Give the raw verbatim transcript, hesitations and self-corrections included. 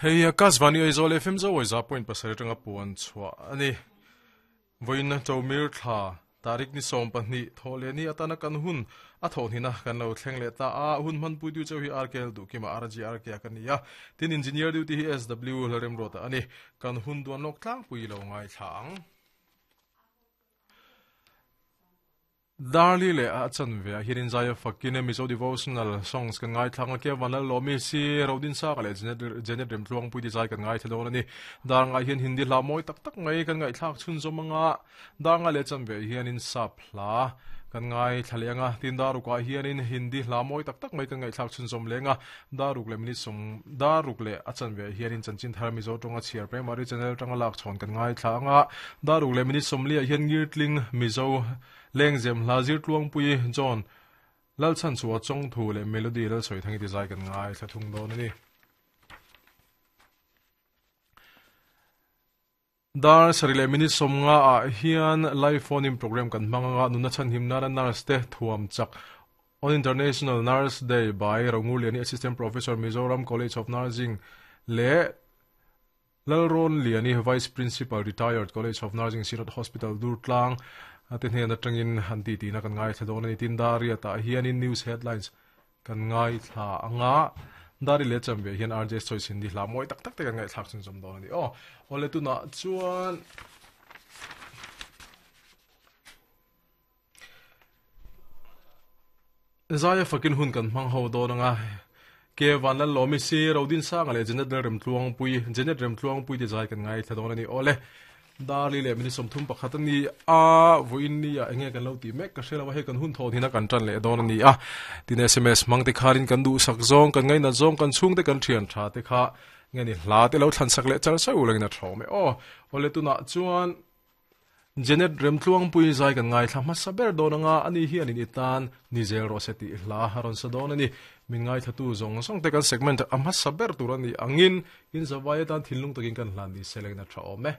Hei Akashvani Aizawl F M zo za point pasarih atanga puan chhuah ani. Voin chomir thla tarik ni som pahnih thawle ni atana kan hun a thaw hina kan lo thleng le ta a hun man pui du chau hi R K L du kima R G R K kan nia tin engineer duty hi S W larem rota ani kan hun duan lok tlang pui lo ngai thlang Darli le a chan ve hirin zaya fakine Mizo devotional songs kan ngai thlang ke vanal lomi si rodin sa le genet genet rem tluang pui di zai kan ngai thelo ani dar ngai hian hindi hla moi tak tak ngai kan ngai thlak chun zomanga dar nga le chan ve hian in sap hla kan ngai thlalenga tin daruk a hian in hindi hla moi tak tak mai kan ngai thlak chun zom lenga daruk le minute som daruk le a chan ve hian in chanchin thar Mizo tonga chiar primary channel tanga lak chhon kan ngai thlanga daruk le minute som li a hian ngirtling Mizo lengzem hlazir tluang pui John lalchan chuwa chong thu le melody lal soi thangi ti zai kan ngai thlathung don ani dar sarile minute somnga a hian live phone in program kan manga nuna chan himna na nurse te thuam chak on International Nurse Day by Ronguliani Assistant Professor Mizoram College of Nursing le Lalron Liani Vice Principal Retired College of Nursing Sirot Hospital Durtlang atin hian atangin han ti ti na kan ngai thla ani tin daria ta hian in news headlines kan ngai thla anga dari le cham ve hian R J choice hindi hla moi tak tak te kan ngai thlak chun chom don ani o ole tu na chuan zaya fakin hun kan mang ho don anga ke vanlal lomi si rodin sa ngale genet rem tluang pui genet rem tluang pui ti zai kan ngai thla don ani ole darli le mini somthum pakhat ani a voin ni a enge kan lo ti mek ka hrelawa he kan hun thaw hina kan tan le don ani a tin S M S mang te kharin kan du sak zong kan ngai na zong kan chung te kan thian tha te kha nge ni hla te lo thlan sak le char sau lengna thome o ole tu na chuan genet rem tluang pui zai kan ngai thla ma saber don anga ani hi anin itan ni zel roseti hla haron sa don ani min ngai thatu zong song te kan segment ama saber turani angin in zawai tan thinlung takin kan hlan ni selengna tha ome.